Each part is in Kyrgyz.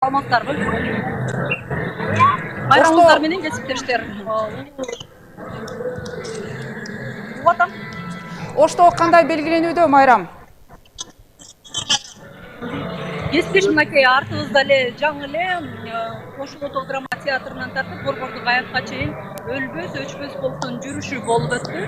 Саламатсыздарбы? Байрамыңыздар менен кесиптештер. Улатам. Ошто кандай белгиленүүдө майрам? Кесиптеш мынакей артыбызда эле жаңы эле Кошул Ото драма театрынан тартып Борбордук аянтка чейин өлбөс, өчпөс полктун жүрүшү болуп өттү.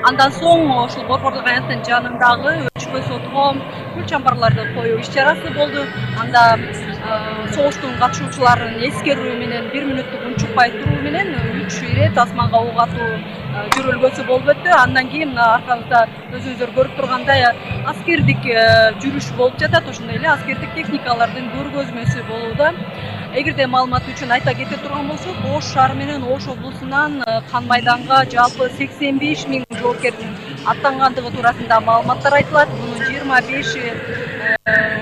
Андан соң ошол Борбордук аянттын жанындагы өчпөс отго гүл чамбарларды коюу иш-чарасы болду. Анда согуштун катышуучуларын эскерүү менен 1 мүнөттүк унчукпай туруу менен 3 ирет асманга ок атуу жүрөлгөсү болуп өттү. Андан кийин мына аркабызда өзүңүздөр көрүп тургандай аскердик жүрүш болуп жатат. Ошондой эле аскердик техникалардын көргөзмөсү болууда. Эгерде маалымат үчүн айта кете турган болсок, Ош шаары менен Ош облусунан кан майданга жалпы 85 000 жоокердин аттангандыгы туурасында маалыматтар айтылат. Мунун 25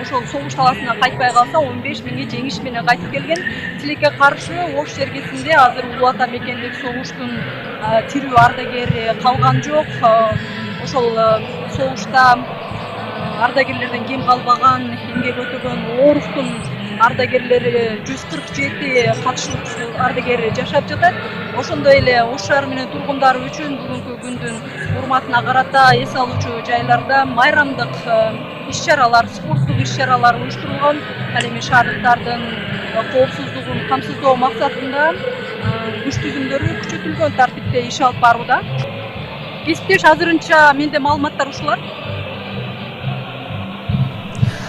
ошол согуш таласына кайтпай калса 15 000 жеңиш менен кайтып келген. Тилекке каршы Ош жергесинде азыр Улуу Ата мекендик согуштун тирүү ардагери калган жок. Ошол согушта ардагерлерден кем калбаган, эмгек өтөгөн Ооруктун ардагерлери 147 катышуучу ардагер жашап жатат. Ошондой эле Ош шаары менен тургундары үчүн бүгүнкү күндүн урматына карата эс алуучу жайларда майрамдык иш-чаралар, спорттук иш-чаралар уюштурулган. Ал эми шаардыктардын коопсуздугун камсыздоо максатында күч түзүмдөрү күчөтүлгөн тартипте иш алып барууда. Кесиптеш, азырынча менде маалыматтар ушулар.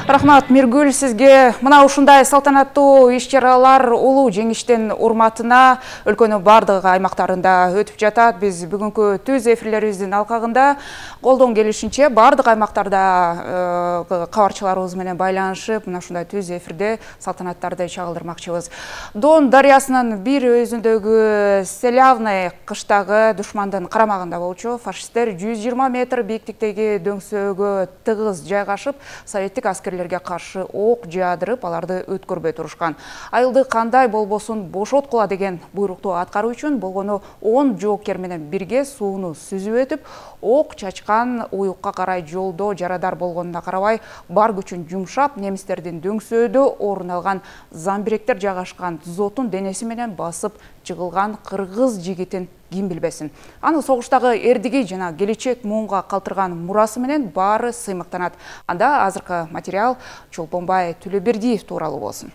Рахмат Миргүл, сизге. Мына ушундай салтанаттуу иш-чаралар улуу жеңиштин урматына өлкөнүн бардык аймактарында өтүп жатат. Биз бүгүнкү түз эфирлерибиздин алкагында колдон келишинче бардык аймактарда кабарчыларыбыз менен байланышып, мына ушундай түз эфирде салтанаттарды чагылдырмакчыбыз. Дон дарыясынын бир өзүндөгү Селявный кыштагы душмандын карамагында болчу фашисттер 120 метр бийиктиктеги дөңсөөгө тыгыз жайгашып, советтик аскерлерге каршы ок жаадырып, аларды өткөрбөй турушкан. Айылды кандай болбосун бошоткула деген буйрукту аткаруу үчүн болгону 10 жоокер менен бирге сууну сүзүп өтүп, ок чачкан уюкка карай жолдо жарадар болгонуна карабай, бар күчүн жумшап, немистердин дөңсөөдө орун алган замбиректер жайгашкан дзотун денеси менен басып жыгылган кыргыз жигитин ким билбесин. Аны согуштагы эрдиги жана келечек муунга калтырган мурасы менен баары сыймыктанат. Анда азыркы материал Чолпонбай Төлөбердиев тууралуу болсун.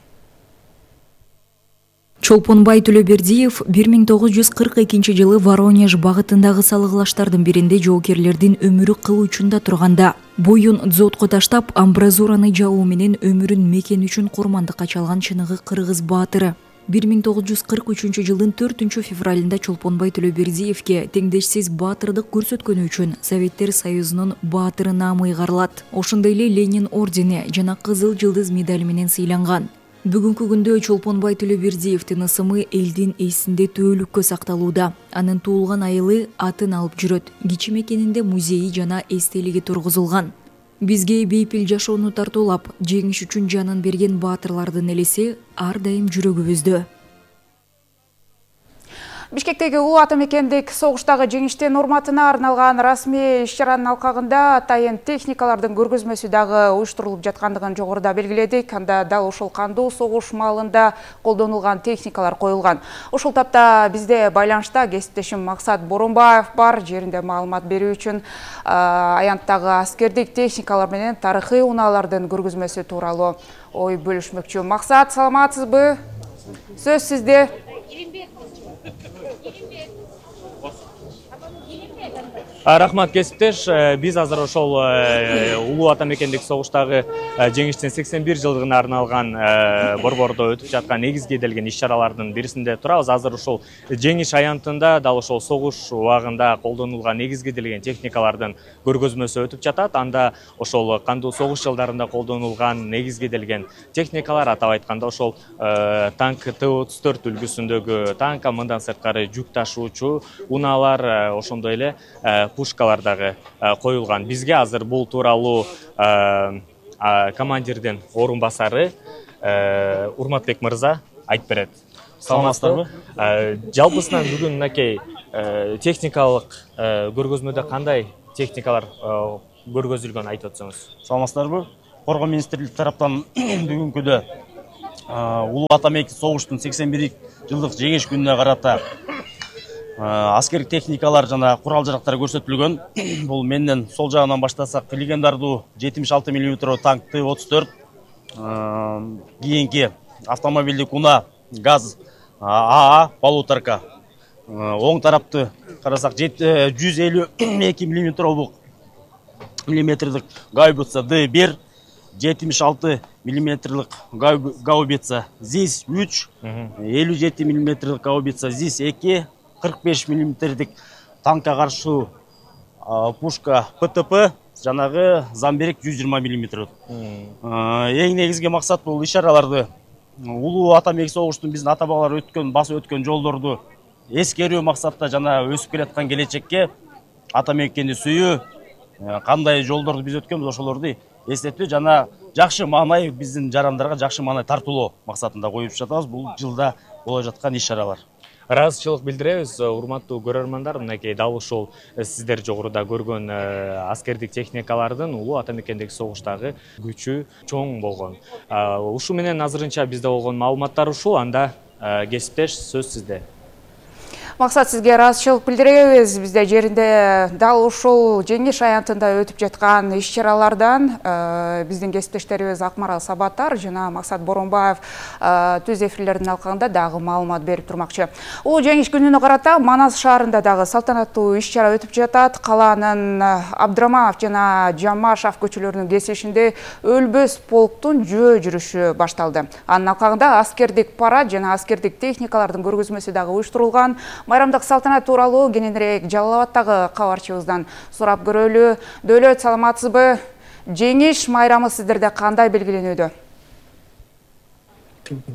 Чолпонбай Төлөбердиев 1942 жылы Воронеж багытындагы салыглаштардын биринде жоокерлердин өмүрү кыл учунда турганда, боюн дзотко таштап, амбразураны жабуу менен өмүрүн мекен үчүн курмандыкка чалган чыныгы кыргыз баатыры. 1943 жылдын 4 февралында Чолпонбай Төлөбердиевке теңдешсиз баатырдык көрсөткөнү үчүн Советтер Союзунун баатыры наамы ыйгарылат. Ошондой эле Ленин ордени жана Кызыл жылдыз медали менен сыйланган. Бүгүнкү күндө Чолпонбай Төлөбердиевдин ысымы элдин эсинде төөлүккө сакталууда. Анын туулган айылы атын алып жүрөт. Кичи мекенинде музейи жана эстелиги тургузулган. Бизге бейпил жашоону тартуулап, жеңиш үчүн жанын берген баатырлардын элеси ар дайым жүрөгүбүздө. Бишкектеги Улуу Ата мекендик согуштагы жеңиштин урматына арналган расмий иш-чаранын алкагында атайын техникалардын көргөзмөсү дагы уюштурулуп жаткандыгын жогоруда белгиледик. Анда дал ушул кандуу согуш маалында колдонулган техникалар коюлган. Ушул тапта бизде байланышта кесиптешим Максат Боронбаев бар. Жеринде маалымат берүү үчүн аянттагы аскердик техникалар менен тарыхый унаалардын көргөзмөсү тууралуу ой бөлүшмөкчү. Максат, саламатсызбы? Сөз сизде. Рахмат кесиптеш, биз азыр ошол Улуу Ата мекендик согуштагы жеңиштин 81 жылдыгына арналган борбордо өтүп жаткан негизги эделген иш-чаралардын бирисинде турабыз. Азыр ошол жеңиш аянтында дал ошол согуш убагында колдонулган негизги эделген техникалардын көргөзмөсү өтүп жатат. Анда ошол кандуу согуш жылдарында колдонулган негизги эделген техникалар, атап айтканда ошол танк Т-34 үлгүсүндөгү танк, мындан сырткары жүк ташуучу унаалар, ошондой эле пушкалар дагы коюлган. Бизге азыр бул тууралуу командирдин орун басары Урматбек мырза айтып берет. Саламатсыздарбы? Жалпысынан бүгүн мынакей техникалык көргөзмөдө кандай техникалар көргөзүлгөн айтып өтсөңүз. Саламатсыздарбы? Коргоо министрлиги тараптан бүгүнкүдө Улуу ата мейки согуштун 81 жылдык жеңиш күнүнө карата аскердик техникалар жана курал жарактар көрсөтүлгөн. Бул менден сол жагынан баштасак, легендардуу 76 мм танк Т-34, кийинки автомобилдик унаа ГАЗ АА полуторка, оң тарапты карасак 152 мм гаубица Д-1, 76 мм гаубица ЗИС-3, 57 мм гаубица ЗИС-2, 45 мм танкка каршы пушка ПТП, жанагы Замберек 120 мм. Эң негизги максат бул ишараларды, улуу ата мейки согуштун биздин ата бабалар басып өткөн жолдорду эскерүү максатта жана өсүп келаткан келечекке ата мейкени сүйүү, кандай жолдорду биз өткөнбүз ошолорду эстетүү жана жакшы маанай биздин жарандарга жакшы маанай тартуулоо максатында коюп жатабыз. Бул жылда боло жаткан иш-чаралар. Ыраазычылык билдиребиз, урматтуу көрөрмандар. Мынакей дал ушул сиздер жогоруда көргөн аскердик техникалардын улуу ата мекендеги согуштагы күчү чоң болгон. Ушу менен азырынча бизде болгон маалыматтар ушул. Анда кесиптеш, сөз сизде. Максат, сизге ыраазычылык билдиребиз. Бизде жеринде дал ушул жеңиш аянтында өтүп жаткан иш-чаралардан биздин кесиптештерибиз Акмарал Сабаттар жана Максат Боронбаев түз эфирлердин алкагында дагы маалымат берип турмакчы. Улуу жеңиш күнүнө карата Манас шаарында дагы салтанаттуу иш-чара өтүп жатат. Калаанын Абдыраманов жана Жамашев көчөлөрүнүн кесишинде өлбөс полктун жөө жүрүшү башталды. Анын алкагында аскердик парад жана аскердик техникалардын көргөзмөсү дагы уюштурулган. Майрамдык салтанат тууралуу кененирээк Жалал Абадтагы кабарчыбыздан сурап көрөлү. Дөөлөт, саламатсызбы? Жеңиш майрамы сиздерде кандай белгиленүүдө?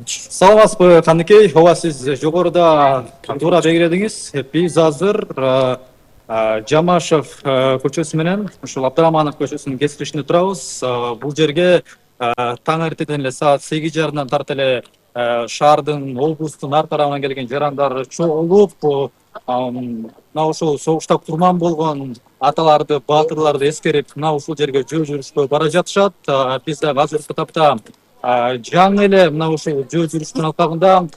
Саламатсызбы, Каныкей? Ооба, сиз жогоруда туура белгиледиңиз. Биз азыр Жамашев көчөсү менен ушул Абдыраманов көчөсүнүн кесилишинде турабыз. Бул жерге таң эртеден эле саат 8:30 тарт эле шаардын, облустун ар тарабынан келген жарандар чогулуп, мына ушул согушта курман болгон аталарды, баатырларды эскерип, мына ушул жерге жөө жүрүшкө бара жатышат. Биз дагы азыркы тапта жаңы эле мына ушул жөө жүрүштүн алкагында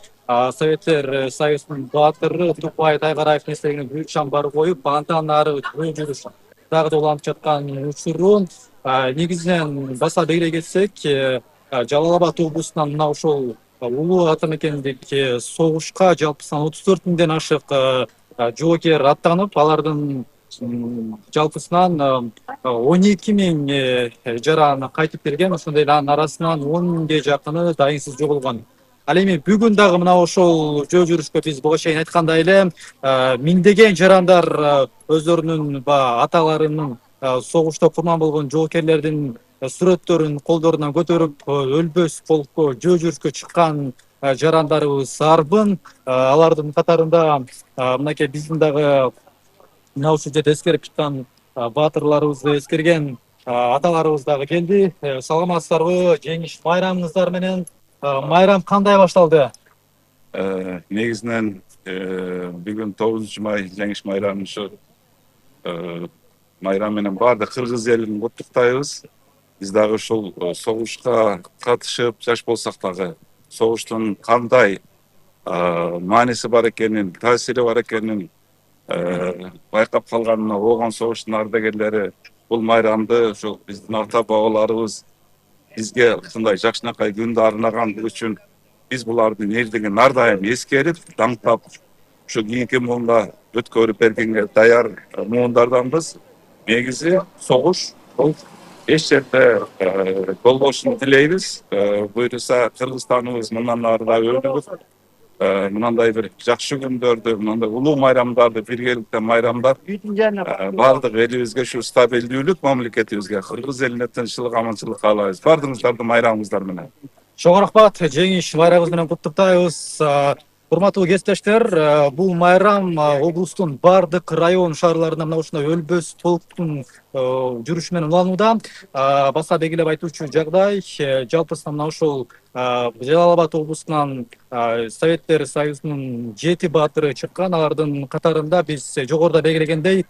Советтер Союзунун баатыры Тукпай Тайгараевдин эстелигине гүл шамдар коюп, андан ары жөө жүрүш дагы да уланып жаткан учурун негизинен баса белгилей кетсек, Жалал Абад облусунан мына ушул улуу ата мекендеги согушка жалпысынан 34 миңден ашык жоокер аттанып, алардын жалпысынан 12 миң жаран кайтып келген. Ошондой эле анын арасынан 10 миңге жакыны дайынсыз жоголгон. Ал эми бүгүн дагы мына ошол жөө жүрүшкө биз буга чейин айткандай эле миңдеген жарандар өздөрүнүн аталарынын согушта курман болгон жоокерлердин сүрөттөрүн колдорунан көтөрүп, өлбөс полкко жөө жүрүшкө чыккан жарандарыбыз арбын. Алардын катарында мынакей биздин дагы мына ушул жерде эскерип чыккан баатырларыбызды эскерген аталарыбыз дагы келди. Саламатсыздарбы? Жеңиш майрамыңыздар менен майрам кандай башталды? Негизинен бүгүн 9 май жеңиш майрамы ушу майрам менен баардык кыргыз элин куттуктайбыз. Биз дагы ушул согушка катышып, жаш болсак дагы согуштун кандай мааниси бар экенин, таасири бар экенин байкап калганына оогон согуштун ардагерлери бул майрамды ошол биздин ата бабаларыбыз бизге ушундай жакшынакай күндү арнаган үчүн биз булардын эрдигин ар дайым эскерип, даңктап, ушу кийинки муунга өткөрүп бергенге даяр муундарданбыз. Негизи согуш бул эч жерде болбошун тилейбиз. Буюрса Кыргызстаныбыз мындан ары да өнүгүп, мынандай бир жакшы күндөрдү, мындай улуу майрамдарды биргеликте майрамдап, баардык элибизге ушу стабилдүүлүк, мамлекетибизге, кыргыз элине тынччылык, аманчылык каалайбыз. Баардыгыңыздарды майрамыңыздар менен. Чоң рахмат, жеңиш майрамыңыз менен куттуктайбыз. Урматтуу кесиптештер, бул майрам облустун баардык район шаарларында мына ушундай өлбөс полктун жүрүшү менен уланууда. Баса белгилеп айтуучу жагдай, жалпысынан мына ушул Жалал Абад облусунан Советтер Союзунун 7 баатыры чыккан. Алардын катарында биз жогоруда белгилегендей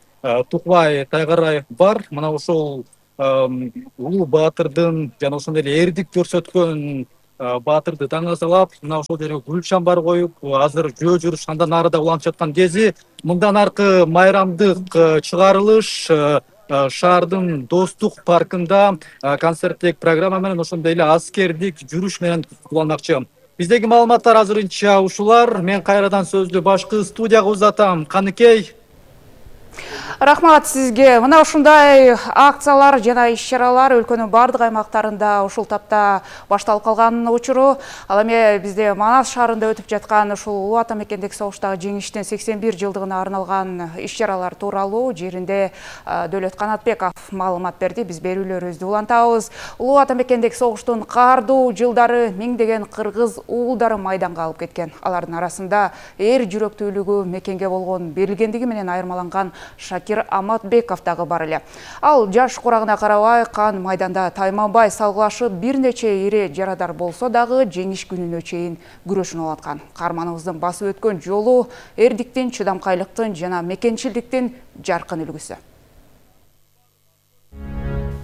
Тукбай Тайгараев бар. Мына ушул улуу баатырдын жана ошондой эле эрдик көрсөткөн баатырды таңазалап, мына ошол жерге гүл чамбар коюп, азыр жөө жүрүш андан нарыда уланып жаткан кези. Мындан аркы майрамдык чыгарылыш шаардын Достук паркында концерттик программа менен, ошондой эле аскердик жүрүш менен уланмакчы. Биздеги маалыматтар азырынча ушулар. Мен кайрадан сөздү башкы студияга узатам. Каныкей. Рахмат сизге. Мына ушундай акциялар жана иш-чаралар өлкөнүн бардык аймактарында ушул тапта башталып калган учуру. Ал эми бизде Манас шаарында өтүп жаткан ушул Улуу Ата мекендик согуштагы жеңиштин 81 жылдыгына арналган иш-чаралар тууралуу жеринде Дөөлөт Канатбеков маалымат берди. Биз берүүлөрүбүздү улантабыз. Улуу Ата мекендик согуштун каардуу жылдары миңдеген кыргыз уулдары майданга алып кеткен. Алардын арасында эр жүрөктүүлүгү мекенге болгон берилгендиги менен айырмаланган Шакир Аматбеков дагы бар эле. Ал жаш курагына карабай кан майданда тайманбай салгылашып, бир нече ири жарадар болсо дагы жеңиш күнүнө чейин күрөшүн улаткан. Каарманыбыздын басып өткөн жолу эрдиктин, чыдамкайлыктын жана мекенчилдиктин жаркын үлгүсү.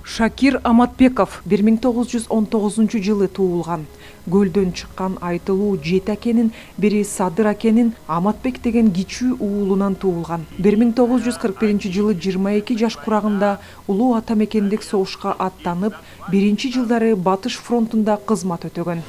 Шакир Аматбеков 1919 жылы туулган. Көлдөн чыккан айтылуу жети акенин бири Садыр акенин Аматбек деген кичүү уулунан туулган. 1941 жылы 22 жаш курагында Улуу Ата мекендик согушка аттанып, биринчи жылдары Батыш фронтунда кызмат өтөгөн.